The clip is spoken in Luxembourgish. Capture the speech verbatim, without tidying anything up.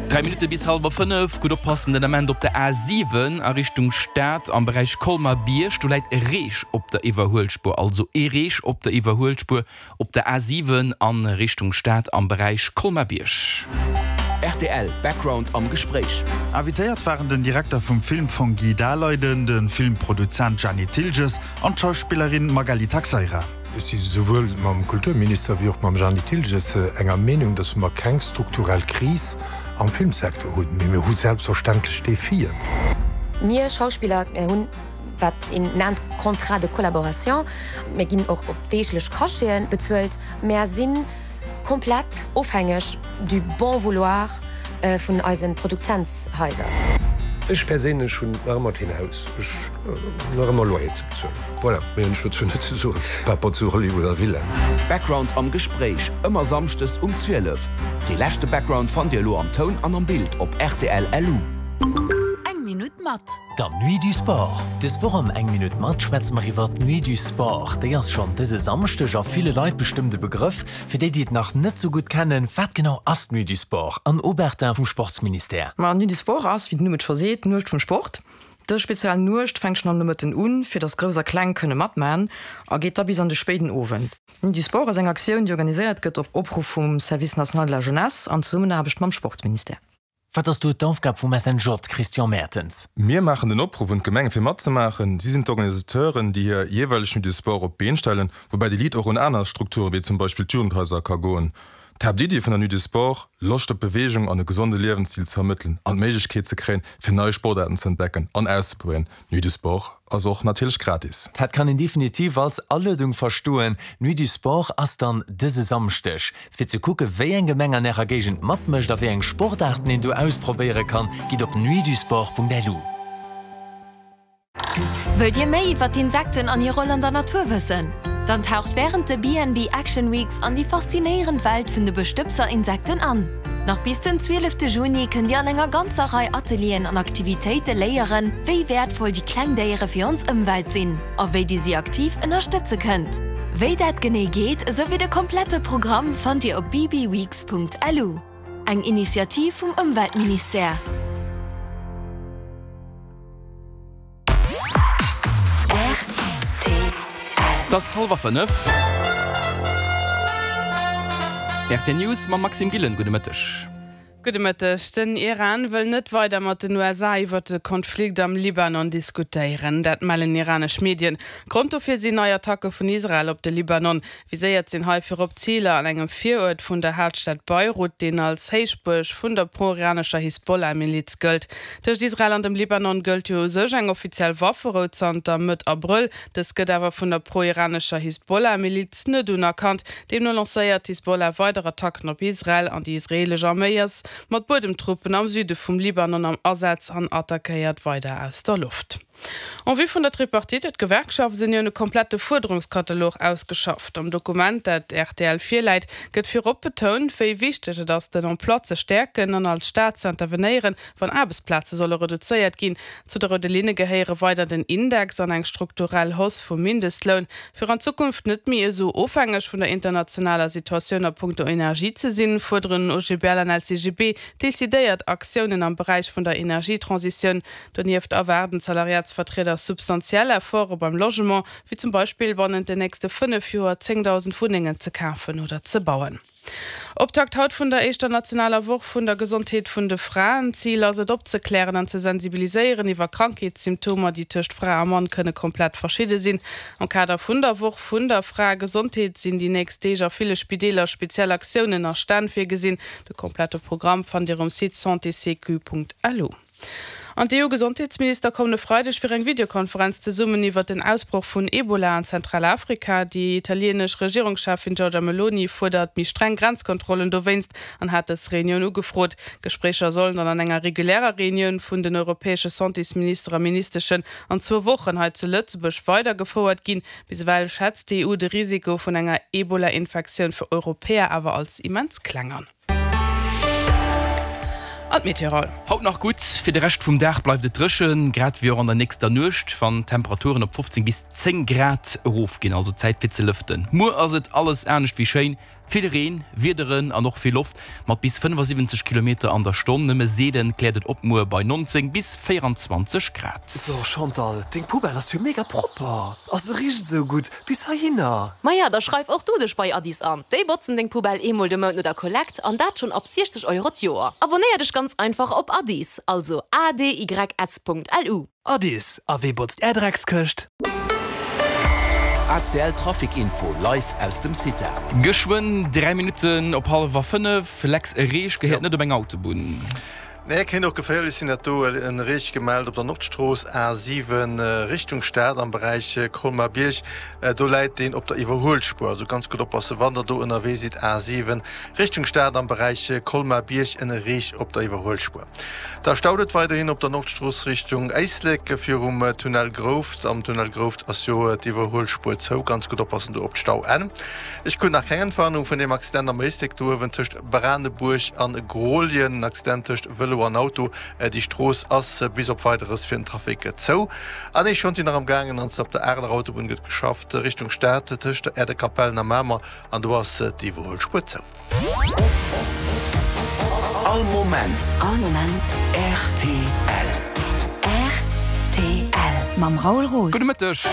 Dräi Minutte bis hallwer fënnef. Gutt oppassen den Ament op der A siwen a Richtung Stad am Beräich Colmer-Bierg. Do läit e Reech op der Iwwerhuelspuer. Also ee Reech op der Iwwerhuelspuer op der A siwen a Richtung Stad am Beräich Colmer-Bierg. Rtl Background am Gespréich. Invitéiert waren den Direkter vum Filmfong Guy Daleiden, de Filmproduzent Jeanny Thilges an d'Schauspillerin Magali Taxeira. Ech si souwuel mam Kulturminister wéi och mam Jeanny Thilges enger Meenung, datt mer keng strukturell Kris am Filmsecteur hunn, mee mir hu selbstverständlech Defien. Mir Schauspiller, mir hunn, wat een nennt Contrat de collaboration, mir ginn och op deeglech Cacheten bezuelt, mär si komplett ofhängeg du bon vouloir vun eise Produzentshaiser. Ech perséinlech hunn nach ëmmer keen Haus, ech hunn nach ëmmer Loyer ze bezuelen. Voilà, méi hunn ech dozou net ze soen, par rapport zu Hollywood a Villaen. Background am Gespréich, ëmmer samschdes um zwielef. Dee leschte Background fannt Dir elo am Toun an am Bild op rtl LU. Eng Minutt mat. Der Nuit du Sport. Dës Woch am Eng Minutt mat schwätze mer iwwer d'Nuit du Sport. Déi ass schonn dëse Samschdeg a ville Leit bestëmmt e Begrëff. Fir déi, déi et nach net sou gutt kennen, wat genau ass d'Nuit du Sport? Anne Obertin vum Sportsministère. Ma d'Nuit du Sport ass, wéi den Numm et scho seet, d'Nuecht vum Sport. Dës speziell Nuecht fänkt schonn am Nomëtten un, fir dass Grouss a Kleng kënne matman, a geet da bis an de spéiden Owend. D'Nuit du Sport ass eng Aktioun, déi organiséiert gëtt op Opruff vum Service national de la jeunesse an Zesummenaarbecht mam Sportministère. Wat ass do d'Aufgab vum S N J, Christian Mertens? Mir maachen den Opruff un d'Gemenge fir matzemaachen. Si sinn d'Organisateuren, déi hir jeeweileg Nuit du Sport op d'Been stellen, woubäi de Lead och un aner Strukture wéi zum Beispill d'Jugendhaiser ka goen. D'Haaptiddi vun der Nuit du Sport, Loscht op Beweegung an e gesonde Liewensstil ze vermëttelen an d'Méiglechkeet ze kréien, fir nei Sportaarten ze entdecken an auszeprobéieren. D'Nuit du Sport ass och natierlech gratis. Dat kann een definitiv als Aluedung verstoen. D'Nuit du Sport ass dann dëse Samschdeg. Fir ze kucke wéi eng Gemeng an ärer Géigend matmécht a wéi eng Sportaarten een do ausprobéiere kann, gitt op nuitdusport Punkt L U. Wëllt Dir méi iwwer d'Insekten an hir Roll an der Natur wëssen? Dann taucht wärend de B N B Action Weeks an déi faszinéierend Welt vun de Bestëbser-Insekten an. Nach bis den zwielefte Juni kënnt Dir an enger ganzer Rei Atelieren an Aktivitéite léieren, wéi wäertvoll déi kleng Déiere fir ons Ëmwelt sinn a wéi Dir si aktiv ënnerstëtze kënnt. Wéi dat genee geet, esou wéi de komplette Programm fannt Dir op B B weeks Punkt L U. Eng Initiativ vum Ëmweltministère. Et ass hallwer fënnef. R T L News mam Maxime Gillen. Gudde Mëtteg. Gudde Mëtteg. Den Iran wëll net weider mat den U S A iwwer de Konflikt am Libanon diskutéieren. Dat mellen iranesch Medien. Grond dofir sinn nei Attacke vun Israel op de Libanon. Viséiert sinn hei virop Ziler an engem Viruert vun der Haaptstad Beirut, deen als Héichbuerg vun der pro-iranescher Hisbollah-Miliz gëllt. Tëscht Israel an dem Libanon gëllt jo u sech eng offiziell Wafferou zanter Mëtt Abrëll. Dës gëtt awer vun der pro-iranescher Hisbollah-Miliz net unerkannt. Deemno lancéiert d'Hisbollah weider Attacken op Israel an déi israelesch Arméi ass mat Buedemtruppen am Süde vum Libanon am Asaz an attackéiert weider aus der Loft. En vue vun der Tripartite huet d'Gewerkschaftsunioun e komplette Fuerderungskatalog ausgeschafft. Am Dokument, dat R T L virläit, gëtt virop betount, wéi wichteg et ass, den Emploi ze stäerken an als Staat ze intervenéieren, wann Aarbechtsplaze solle reduzéiert ginn. Zu de roude Linne gehéiere weider den Index an eng strukturell Hausse vum Mindestloun. Fir an Zukunft net méi esou ofhängeg vun der internationaler Situatioun a punkto Energie ze sinn, fuerderen O G B L an L C G B decidéiert Aktiounen am Beräich vun der Energietransitioun. Donieft erwaarden d'Salariatsvertrieder substantiell Efforte beim Logement, wéi zum Beispill bannent den nächste fënnef Joer zéngdausend Wunnengen ze kafen oder ze bauen. Optakt haut vun der éischter nationaler Woch vun der Gesondheet vun de Fraen. Zil ass et opzeklären an ze sensibiliséieren iwwer Krankheetssymptomer, déi tëscht Fra a Mann kënne komplett verschidde sinn. Am Kader vun der Woch vun der Fraegesondheet sinn déi nächst Deeg a ville Spideeler speziell Aktiounen a Stänn virgesinn. De komplette Programm fannt Dir um Site santécq Punkt L U. An d'E U-Gesondheetsminister kommen e Freideg fir eng Videokonferenz zesummen iwwer den Ausbroch vun Ebola an Zentralafrika. Déi italieenesch Regierungscheffin Giorgia Meloni fuerdert méi streng Grenzkontrollen dowéinst an hat dës Reunioun ugefrot. Gespréicher sollen dann an enger regulärer Reunioun vun den europäesche Santésminister a Ministeschen an zwou Wochen hei zu Lëtzebuerg weidergefouert ginn. Bis ewell schätzt d'E U de Risiko vun enger Ebola-Infektioun fir Europäer awer als immens kleng an. An d'Meteo. Haut nach gutt, fir de Rescht vum Dag bleift et dréchen, grad wéi och an der nächster Nuecht, wann d'Temperaturen op fofzéng bis zéng Grad erofginn, also Zäit fir ze lëften. Muer ass et alles anescht wéi schéin, Vill Reen, Wiederen an och vill Loft mat bis fënnefasiwwenzeg Kilometer an der Stonn. Nëmme seelen kläert et op muer bei neunzéng bis véierundzwanzeg Grad. So Chantal, deng Poubelle ass jo mega propper a se richt esou gutt bis heihinner. Maja, da schreif och du dech bei Adys an. Déi botzen deng Poubelle eemol de Mount no der Kollekt an dat schonn ab siechzeg Euro d'Joer. Abonnéier dech ganz einfach op Adys, also A D Y S Punkt L U. Adys, a wee botzt är Dreckskëscht? A C L Trafic Info live aus dem CITA. Geschwënn dräi Minutten op hallwer fënnef. Lex, e Reech gehéiert net op eng Autobunn. Nee, kéint och geféierlech sinn dat do. En Reech gemellt op der Nordstrooss A siwen Richtung Stad am Beräich Colmar-Bierg. Do läit deen op der Iwwerhuelspuer. Also ganz gutt oppassen, wann der do ënnerwee sidd. A siwen Richtung Stad am Beräich Colmar-Bierg, en Reech op der Iwwerhuelspuer. Da staut et weiderhin op der Nordstrooss Richtung Éislek virum Tunnel Grouft. Am Tunnel Grouft ass jo d'Iwwerhuelspuer zou. Ganz gutt oppassen do op d'Stauenn. Ech krut nach keng Entwarnung vun deem Accident am Éislek do uewen tëscht Branebuerg an Grooljen. En Accident tëscht Vëlo an Auto. Déi Strooss ass bis op Weideres fir den Trafic zou. An ee Chantier nach am gaangen an op der Areler Autobunn gëtt geschafft Richtung Stad tëscht der Aerdekapellen a Mamer an do ass d'Iwwerhuelspuer zou. All Moment. All Moment. Rtl. Rtl. Mam Raoul Roos. Gudde Mëtteg.